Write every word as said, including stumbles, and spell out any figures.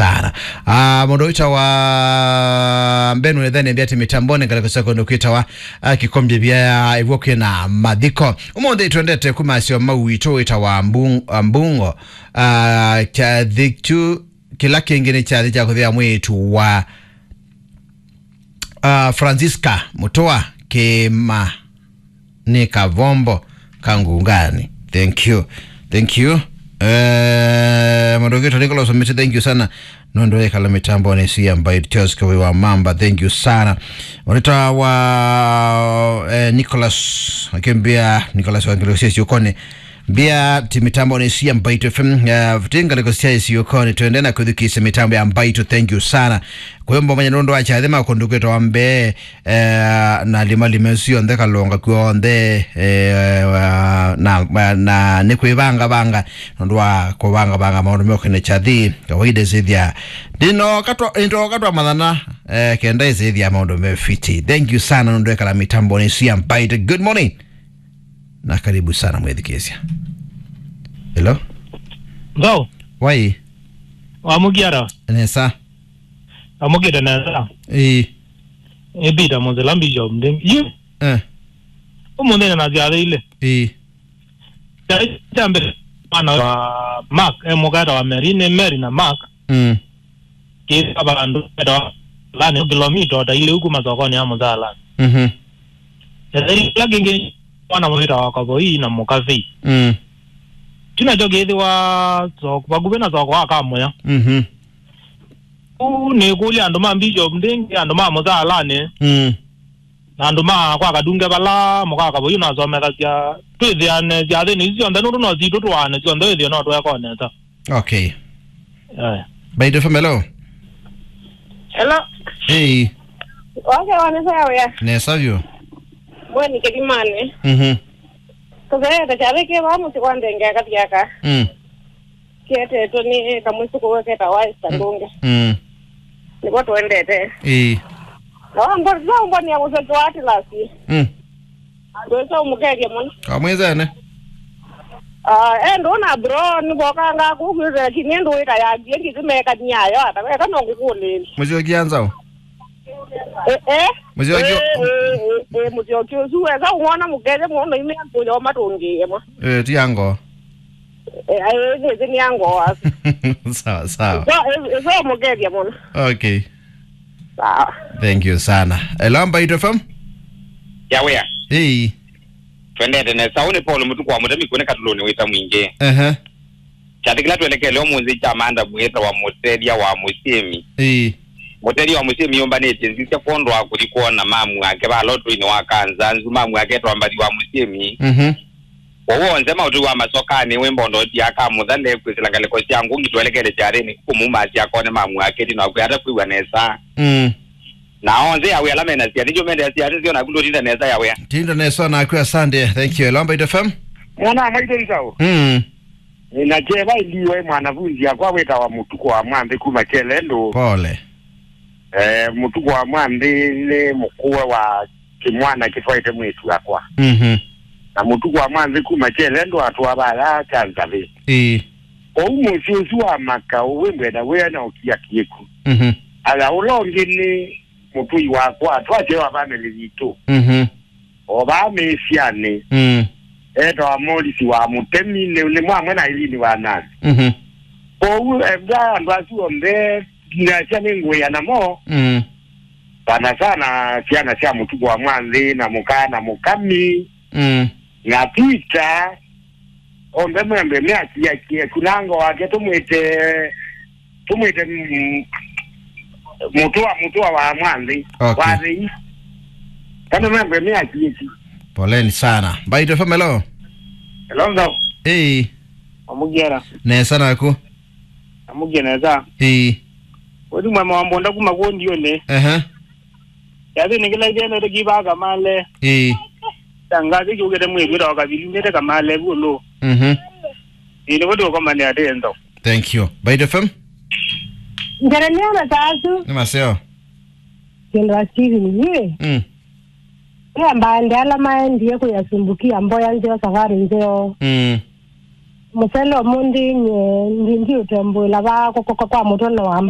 Sana. Ah, mũndũ wĩtawa Mbenu Nethene Mbiati mĩtamboni ngalĩko sya kũndũ kwĩtawa, ah, Kĩkombe vya ĩvwo kwĩna mathiko. Ũmũnthĩ twendete kuma aseo mau witũ wĩtawa Mbung-, ah, Mbungo. Ah, kyathĩ kyu kĩla kĩngĩ nĩ kyathĩ kya kũthĩa mwĩĩtu wa, ah, Francisca Mũtũa kĩma nĩ kavombo ka ngungani. Thank you. Thank you. Eh, mũndũ ũngĩ Nicholas Omiti, thank you sana. Nũndũ wĩkala mĩtamboni ĩsu ya Mbaitũ Charles Kawĩ wa Mamba, thank you sana. Mũrĩta wa, eh, Nicholas, akĩmbĩa Nicholas wa Ngelosesi ũkone. Mbĩa ti mĩtamboni ĩsu ya Mbaitũ F M, eh, ti ngalĩko sya ĩsu ũkone. Twende na kwĩthukĩĩsya mĩtambo ya Mbaitũ, thank you sana. Kwĩmbo manya nũndũ wa kyathĩ ma kũndũ kwĩtawa mbee, eh, na lima lima ĩsu yonthe kalonga kw'onthe, eh, na, na nĩ kwĩvangavanga nũndũ wa kũvangavanga maũndũ meũkene kyathĩ kawaida ĩsĩthya ndinoka twa, ndoka twa mathana, eh, kenda ĩsĩthya maũndũ me fiti. Thank you sana nũndũ ekala mĩtamboni ĩsu ya Mbaitũ. Good morning. Na karibu sana mwĩthukĩĩsya. Hello? Thau. Wai? Wamũkiata? Nesa. Amũkĩte nesa. Ĩĩ. Ĩ Peter Mũthela Bishop Ndĩngĩ. Yu. Eh. Ũmũnthĩ na syathĩile. Ĩĩ. Syathĩ sya mbere mwana wa Mark, e mũkata wa Mary, nĩ Mary na Mark. Mm. Kĩka vandũ vetawa lani kilomita ũtaile kuma sokonĩ ya Mũthalani. Mhm. Syathĩile kĩla kĩngĩ mwana wĩtawa Kavoi na Mũkavei. Mm. Kyu nakyo kĩthĩwa soko, vakuvĩ na soko wa Kamũya. Mhm. Ũu nĩkũlya andũ ma Bishop Ndĩngĩ, andũ ma Mũthalanĩ, Mm. na andũ ma kwa Kadunge vala mũkaka ũyu nasomethasya, twĩthĩane syathĩnĩ isu syonthe, nũndũ no sitũ tũaane syonthe, wĩthĩe no twekone nesa. Okay. Eh. Mbaitũ F M, hello. Hello. Hey. Okay, wanesa ya wĩa. Nesa vyũ. Mweni Kĩthimani. Mhm. Tũtheete kyathĩ kĩ vaa mũsyĩ kwa ndenge akathiaka. Mm. Kĩetetwe nĩ kamwĩsũkũ we ketawa Esther Mm. Ndũnge. Mm. Nĩvo tũendete. Ĩĩ. Na wambo-, wambonea mũseke wa Atlas. Mm. Andũ ĩsa ũmũkethye mũno. Kamwĩzene. Ah, endũ na bro, nĩvokangaa kũu kwĩthĩa kĩnĩ ndũ wĩta ya ngie ngĩthimekany'ayo, ata weka no ngũkũlĩĩle. Mũsyokia nzaũ? Eh, eh. Mũsyoki Eh, eh, eh, eh, mũsyoki ũsu wesa ũmwona mũkethye mũno imea kũyo matũngĩĩe mwa. Eh, ti ango. Eh, ai, nĩ, nĩ ango waku. Sawa, sawa. So, eh, eh, so mũkethye mũno. Okay. Sawa. Thank you sana. Hello, Mbaitũ F M? Ya wĩa. Hey. Twendete nesa. Ũũ nĩ Paul Mũtuku wa Mũtemi kũnĩ Katulũnĩ wĩta mwingĩ. Ehe. Kyathĩ kĩla twelekele ũmũnthĩ kya maanda mwĩĩta wa mũtethya wa mũsyĩmi. Ĩĩ. Mũtethya wa mũsyĩmi yũmbanĩtye nzisya kwondũ wa kũthi kwona mamu ake va lotũinĩ wa kanza nzu, mamu ake etwa Mbathi wa mũsyĩmi. Mhm. Kwoou onthe maũtwi wa masokanĩ wĩ mbondoti aka mũthale kwĩsĩla ngalĩko sya ngũngi twelekele kyathĩnĩ kũmumasya akone mamu ake ĩtina wa kwĩa ata kwĩw'a nesa. Mm. Na onthe awi ala mena syana nĩkyo mendea syana nzeo naku ndũtinda nesa ya wĩa. Tinda nesa naku, asante. Thank you. Hello, Mbaitũ F M? Mwana wa maitũ nzaũ. Mm. Na kyeva iliwe mwanafunzi akwa wĩtawa Mũtuku wa Mwanthĩ kuma Kyelendũ. Pole. Eh, Mũtuku wa Mwanthĩ nĩ mũkũwe wa kĩmwana kĩtwaĩte mwĩĩtu wakwa. Mhm. Na Mũtuku wa Mwanthĩ kuma Kyelendũ atwaa vaya kya nzavĩ. Ĩĩ. Kwoou mũsyĩ ũsu wa makaũ wĩ mbwenda wĩa na ũkia kĩĩku. Mhm. Aya ũla ũngĩ nĩ mũtũi wakwa, twasyaĩwa vamĩlĩ yitũ. Mhm. O vaa mĩĩsyanĩ. Mm. Etawa Morisi wa Mũtemi, nĩ, nĩ mwamwe na Ilini wa Nani. Mhm. Kwoou, eh, va andũ asu onthe, nasya nĩ ngũĩa namo. Mm. Sana sana syana sya Mũtuku wa Mwanthĩ, na mũkaa na mũkami, Mm. na Peter, onthe mwembe meakiakie kunango wake tũmwĩte, tũmwĩte, mm, mũtũa, mũtũa wa Mwanthĩ, Okay. wa thĩi. Kana mwembe meakieki. Poleni sana. Mbaitũ F M, hello. Hello, nzaũ. Hey. Amũkiera. Nesa naku. Amũkie nesa. Ĩĩ. Ũthi mwema wa mbonda kuma kũndiũnĩ. Ehe. Yathĩnĩ kĩla ithenete kĩvaa kamale. Ĩĩ. Tangathi kĩũkĩte mwĩĩtu wĩtawa Kavili, nĩte kamale vu ũlũ. Mhm. Ĩĩ, nĩvo tũkomanĩa tendo. Thank you. Mbaitũ F M? Njeremia na taasu. Nĩ maseo. Kĩndũ wa Steven, yĩ. Mm. Ĩambande ala maendie kwĩyasumbukia mboya nzeo, savarĩ nzeo. Mm. Mũsele ũmũnthĩ nye ndi, ndiũtembũĩla vaa kũkoka kwa mũtwe no wa